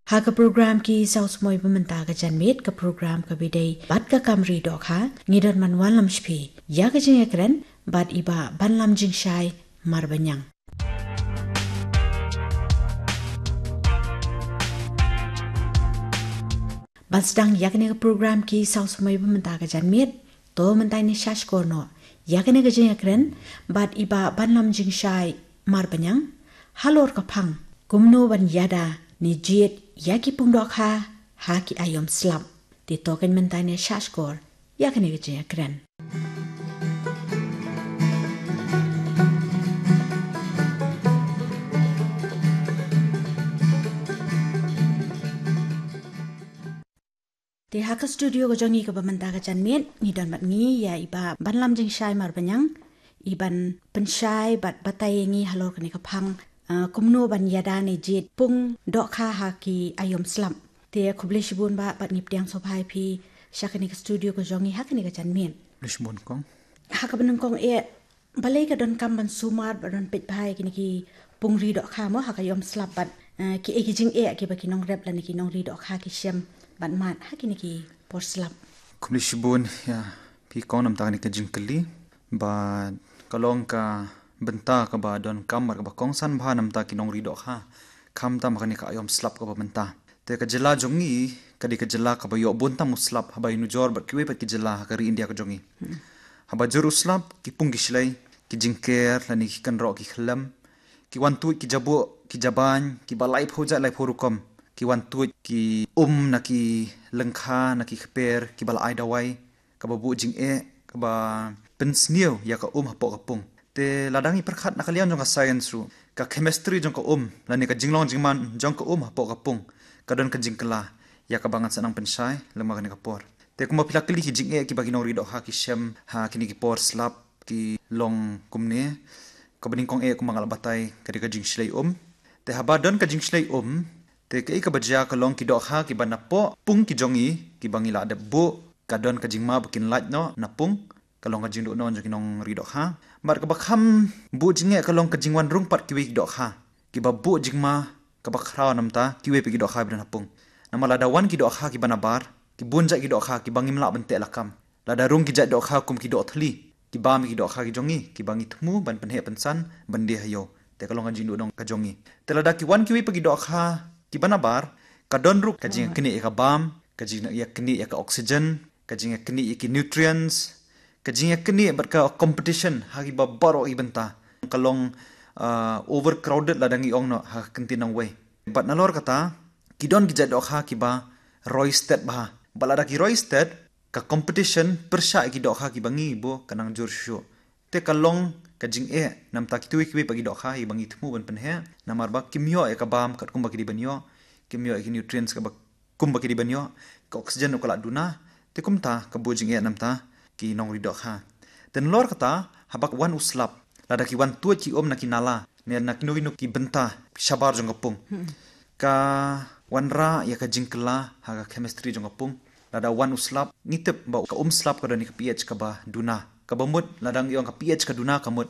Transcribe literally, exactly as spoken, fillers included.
Ha ka program Ki Saw Samoi Ba Mynta ka Janmiet, ka program kaba ïadei bad ka kam ri dohkha, ngi don ban wanlam sha phi ïa ka jingïakren bad i Bah Banlam Jingshai Marbaniang. Ban sdang ïa kane ka program Ki Saw Samoi Ba Mynta ka Janmiet, to mynta ngin ïa shahshkor noh ïa kane ka jingïakren bad i Bah Banlam Jingshai Marbaniang halor ka phang kumno ban ïada ne jied ïa ki pung dohkha ha ki aïom slap. Te to kan mynta ngin ïa shahshkor ïa kane ka jingïakren. Te ha ka studio ka jong ngi kaba mynta ka janmiet ngi don bad ngi ïa i Bah Banlam Jingshai Marbaniang, i ban pynshai bad batai ïa ngi halor kane ka phang, ah, kumno ban ïada ne jied pung dohkha ha ki aïom slap. Te khublei shibun Bah bad ngi pdiang sngewbha ïa phi sha kane ka studio ka jong ngi ha kane ka janmiet. Khublei shibun kong. Ha kaba nyngkong eh, balei ka donkam ban sumar bad ban peit bha ïa kine ki pung ri dohkha mo ha ka aïom slap bad, eh, kiei ki jingeh kiba ki nongrep lane ki nongri dohkha ki shem bad mad ha kine ki por slap? Khublei shibun ïa phi kong namta kane ka jingkylli. Bad ka long ka bynta kaba donkam bad kaba kongsan bha namta ki nongri dohkha, khamtam ha kane ka aïom slap kaba mynta. Te ka jylla jong ngi ka dei ka jylla kaba ïoh bun tam u slap haba ïanujor bad kiwei pat ki jylla ha ka ri India ka jong ngi. Haba jur u slap, ki pung ki shlei, ki jingker lane ki kynroh ki khyllem, ki wan tuid ki jabuh ki jabain kiba laiphew jait laiphew rukom, ki wan tuid ki um na ki lyngkha na ki kper kiba la ai dawai, kaba buh jingeh, kaba pynsniew ïa ka um hapoh ka pung. Te lada ngi pyrkhat na ka liang jong ka science ruh, ka chemistry jong ka um lane ka jinglong jingman jong ka um hapoh ka pung ka don ka jingkylla ïa kaba ngan sa nang pynshai lem ha kane ka por. Te kumba phi la kylli, ki jingeh kiba ki nongri dohkha ki shem ha kine ki por slap ki long kumne. Kaba nyngkong eh kumba nga la batai ka dei ka jingshlei um. Te haba don ka jingshlei um, te kaei kaba jia ka long ki dohkha kiba napoh pung ki jong ngi kiba ngi la dep buh, ka don ka jingma ba kin lait noh na pung, ka long ka jingduh noh jong ki nongri dohkha. Bad kaba kham buh jingeh ka long ka jingwan rung pat kiwei ki dohkha kiba buh jingma kaba khraw namta kiwei pat ki dohkha ba don ha pung. Namar lada wan ki dohkha kiba nabar, ki bun jait ki dohkha kiba ngim lah ban teh lakam. Lada rung ki jait dohkha kum ki doh thli, ki bam ïa ki dohkha ki jong ngi kiba ngi thmu ban pynheh pynsan ban die ha ïew. Te ka long ka jingduh noh ka jong ngi. Te lada ki wan kiwei pat ki dohkha kiba nabar, ka don ruh ka jingïaknieh ïa ka bam, ka jingïaknieh ïa ka oxygen, ka jingïaknieh ïa ki nutrients, ka jingïaknieh bad ka competition ha kiba baroh ki bynta. Ka long, ah, overcrowded lada ngi ong noh ha ka kyntien nongwei. Bad nalor kata, ki don ki jait dohkha kiba roi stet bha. Bad lada ki roi stet, ka competition pyrshah ïa ki dohkha kiba ngi buh ka nang jur shuh shuh. Te ka long ka jingeh namta kito kiwei pat ki dohkha kiba ngi thmu ban pynheh, namar ba kim ïoh ïa ka bam katkum ba ki dei ban ïoh, kim ïoh ïa ki nutrients kaba kumba ki dei ban ïoh, ka oxygen ruh ka la duna. Te kumta ka buh jingeh namta ki nongri dohkha. Te nalor kata, haba wan u slap, lada ki wan tuid ki um na ki nala ne na kino kino ki bynta shabar jong ka pung, ka wanrah ïa ka jingkylla ha ka chemistry jong ka pung. Lada wan u slap, ngi tip ba ka um slap ka don ïa ka pH kaba duna. Kaba mut lada ngi ong ka pH ka duna, ka mut